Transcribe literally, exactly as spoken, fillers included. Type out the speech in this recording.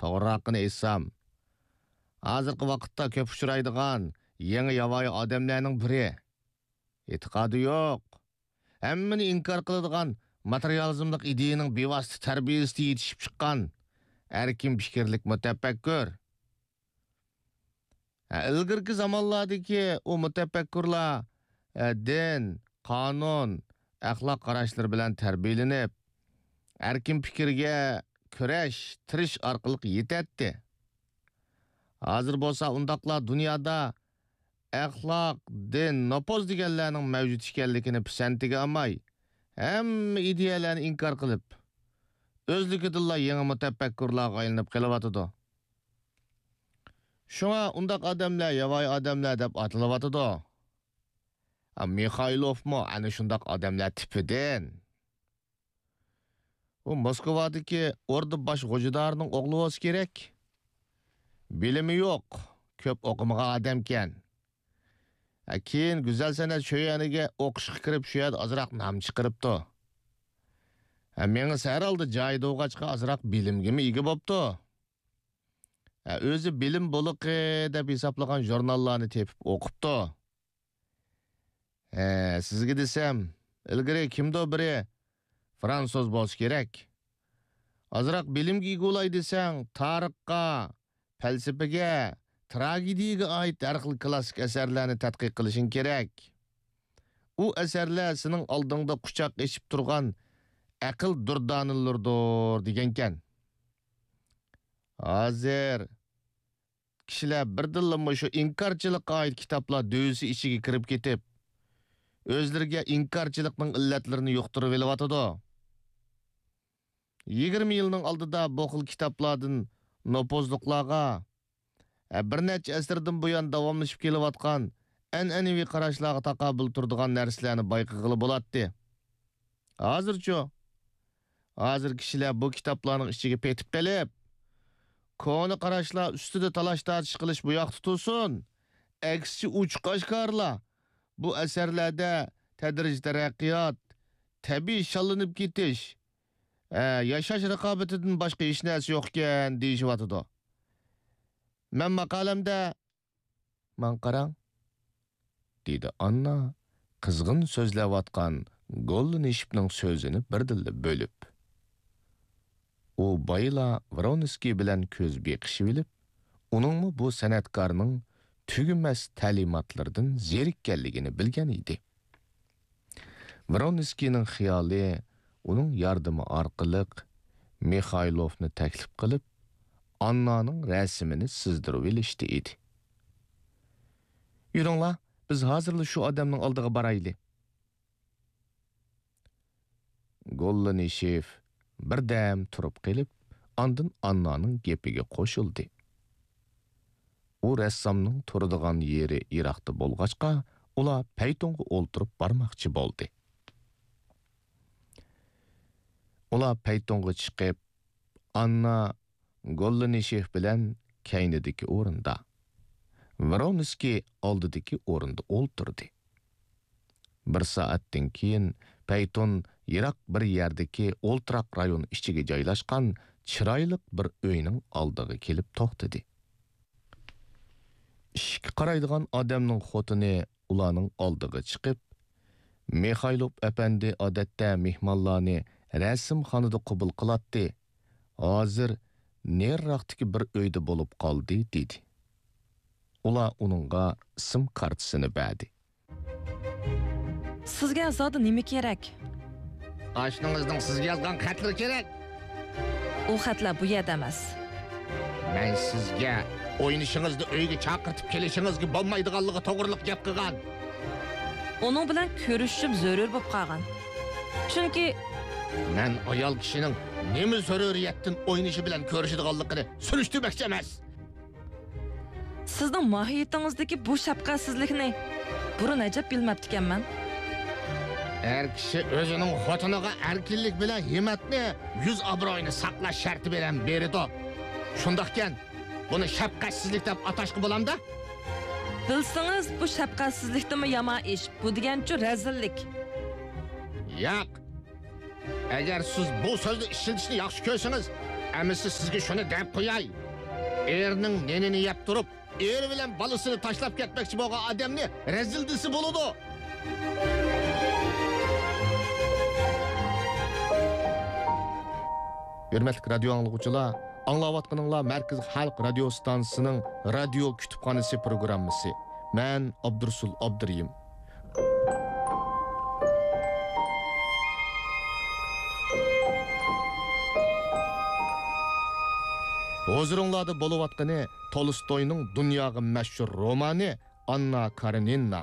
توغرىراقىنى ئېيتسام، ھازىرقى ۋاقىتتا كۆپ ئۇچرايدىغان يېڭى ياۋايى ئادەملەرنىڭ بىرى. ئېتىقادى يوق، ھەممىنى ئىنكار قىلىدىغان ماتېرىيالىزملىق ئىدىيەنىڭ بىۋاسىتە تەربىيەسىدە يېتىشىپ چىققان ئەركىن پىكىرلىك مۇتەپەككۇر. ھە، ئىلگىرىكى زامانلاردىكى ئۇ مۇتەپەككۇرلار، ھە، دىن، قانۇن، ئەخلاق قاراشلىرى بىلەن تەربىيەلىنىپ، ئەركىن پىكىرگە كۈرەش، تىرىش ئارقىلىق يېتەتتى. ھازىر بولسا ئۇنداقلار دۇنيادا ئەخلاق، دىن، نوپۇز دېگەنلەرنىڭ مەۋجۇت ئىكەنلىكىنى پىسەنتىگە ئالماي، ھەممە ئىدىيەلەرنى ئىنكار قىلىپ، ئۆزلۈكىدىنلا يېڭى مۇتەپەككۇرلارغا ئايلىنىپ قېلىۋاتىدۇ. شۇڭا ئۇنداق ئادەملەر ياۋايى ئادەملەر دەپ ئاتىلىۋاتىدۇ. ئا، مىخايلوفمۇ ئەنە شۇنداق ئادەملەر تىپىدىن. ئۇ موسكۋادىكى ئوردا باش غوجىدارىنىڭ ئوغلى بولسا كېرەك. بىلىمى يوق، كۆپ ئوقۇمىغان ئادەمكەن. ھە، كېيىن گۈزەل سەنئەت شۆيۈەنىگە ئوقۇشقا كىرىپ، شۇ يەردە ئازراق نام چىقىرىپتۇ. ھە، مېڭىسى ھەر ھالدا جايىدا بولغاچقا، ئازراق بىلىمگىمۇ ئىگە بوپتۇ. ھە، ئۆزى بىلىم بولىقى دەپ ھېسابلىغان ژۇرناللارنى تېپىپ ئوقۇپتۇ. ھە، سىزگە دېسەم، ئىلگىرى كىمدۇ بىرى فرانسۇز بولسا كېرەك. ئازراق بىلىمگە ئىگە بولاي دېسەڭ، تارىخقا، پەلسەپىگە، تراگېدىيەگە ئائىت ھەر خىل كلاسسىك ئەسەرلەرنى تەتقىق قىلىشىڭ كېرەك. ئۇ ئەسەرلەر سېنىڭ ئالدىڭدا قۇچاق ئېچىپ تۇرغان ئەقىل دۇردانىلىرىدۇر دېگەنكەن. ھازىر كىشىلەر بىردىنلا مۇشۇ ئىنكارچىلىققا ئائىت كىتابلار دۆۋىسى ئىچىگە كىرىپ كېتىپ، ئۆزلىرىگە ئىنكارچىلىقنىڭ ئىللەتلىرىنى يۇقتۇرۇۋېلىۋاتىدۇ. يىگىرمە يىلنىڭ ئالدىدا بۇ خىل كىتابلاردىن نوپۇزلۇقلارغا، ھە، بىر نەچچە ئەسىردىن بۇيان داۋاملىشىپ كېلىۋاتقان ئەنئەنىۋى قاراشلارغا تاقابىل تۇرىدىغان نەرسىلەرنى بايقىغىلى بولاتتى. ھازىرچۇ؟ ھازىر كىشىلەر بۇ كىتابلارنىڭ ئىچىگە پېتىپ قېلىپ، كونا قاراشلار ئۈستىدە تالاش-تارتىش قىلىش بۇ ياقتا تۇرسۇن، ئەكسىچە ئوچۇق-ئاشكارىلا بۇ ئەسەرلەردە تەدرىجىي تەرەققىيات، تەبىئىي شاللىنىپ كېتىش، ھە، ياشاش رىقابىتىدىن باشقا ھېچ نەرسە يوقكەن دېيىشىۋاتىدۇ. مەن ماقالەمدە، ماڭا قاراڭ، دېدى ئاننا قىزغىن سۆزلەۋاتقان گوللىنىشېفنىڭ سۆزىنى بىردىنلا بۆلۈپ. ئۇ بايىلا ۋرونسكىي بىلەن كۆز بېقىشىۋېلىپ، ئۇنىڭمۇ بۇ سەنئەتكارنىڭ تۈگىمەس تەلىماتلىرىدىن زېرىككەنلىكىنى بىلگەن ئىدى. ۋرونسكىينىڭ خىيالى ئۇنىڭ ياردىمى ئارقىلىق مىخايلوفنى تەكلىپ قىلىپ، ئاننانىڭ رەسىمىنى سىزدۇرۇۋېلىشتا ئىدى. يۈرۈڭلار، بىز ھازىرلا شۇ ئادەمنىڭ ئالدىغا بارايلى. گوللىنىشېف بىردەم تۇرۇپ قېلىپ، ئاندىن ئاننانىڭ گېپىگە قوشۇلدى. ئۇ رەسسامنىڭ تۇرىدىغان يېرى يىراقتا بولغاچقا، ئۇلار پەيتۇنغا ئولتۇرۇپ بارماقچى بولدى. ئۇلار پەيتۇنغا چىقىپ، ئاننا گوللىنىشېف بىلەن كەينىدىكى ئورۇندا، ۋرونسكىي ئالدىدىكى ئورۇندا ئولتۇردى. بىر سائەتتىن كېيىن پەيتۇن يىراق بىر يەردىكى ئولتۇراق رايون ئىچىگە جايلاشقان چىرايلىق بىر ئۆينىڭ ئالدىغا كېلىپ توختىدى. ئىشىككە قارايدىغان ئادەمنىڭ خوتۇنى ئۇلارنىڭ ئالدىغا چىقىپ، مىخايلوف ئەپەندى ئادەتتە مېھمانلارنى رەسىمخانىدا قوبۇل قىلاتتى، ھازىر نېرىراقتىكى بىر ئۆيدە بولۇپ قالدى، دېدى. ئۇلار ئۇنىڭغا سىم كارتىسىنى بەردى. سىزگە زادى نېمە كېرەك؟ ئاشنىڭىزنىڭ سىزگە يازغان خەتلىرى كېرەك. ئۇ خەتلەر بۇ يەردە ئەمەس. مەن سىزگە ئوينىشىڭىزنى ئۆيگە چاقىرتىپ كېلىشىڭىزگە بولمايدىغانلىقى توغرىلىق گەپ قىلغان. ئۇنىڭ بىلەن كۆرۈشۈشۈم زۆرۈر بولۇپ قالغان. چۈنكى مەن ئايال كىشىنىڭ نېمە زۆرۈرىيەتتىن ئوينىشى بىلەن كۆرۈشىدىغانلىقىنى سۈرۈشتۈرمەكچى ئەمەس. سىزنىڭ ماھىيىتىڭىزدىكى بۇ شەپقەتسىزلىكنى بۇرۇن ئەجەب بىلمەپتىكەنمەن. ئەر كىشى ئۆزىنىڭ خوتۇنىغا ئەركىنلىك بىلەن ھىممەتنى، يۈز ئابرۇيىنى ساقلاش شەرتى بىلەن بېرىدۇ. شۇنداقكەن، بۇنى شەپقەتسىزلىك دەپ ئاتاشقا بولامدا؟ بىلسىڭىز، بۇ شەپقەتسىزلىكتىنمۇ يامان ئىش. بۇ دېگەنچۇ رەزىللىك. ياق. ئەگەر سىز بۇ سۆزنى ئىشلىتىشنى ياخشى كۆرسىڭىز، ئەمىسە سىزگە شۇنى دەپ قوياي. ئېرىنىڭ نېنىنى يەپ تۇرۇپ، ئېرى بىلەن بالىسىنى تاشلاپ كەتمەكچى بولغان ئادەمنى رەزىل دېسە بولىدۇ. ھۆرمەتلىك رادىيو ئاڭلىغۇچىلار، ئاڭلاۋاتقىنىڭلار مەركىزىي خەلق رادىيو ستانسىسىنىڭ رادىيو كۇتۇپخانىسى پروگراممىسى. مەن ئابدۇرۇسۇل ئابدۇرېھىم. ھۇزۇرۇڭلاردا بولۇۋاتقىنى تولستوينىڭ دۇنياغا مەشھۇر رومانى ئاننا كارېنىنا.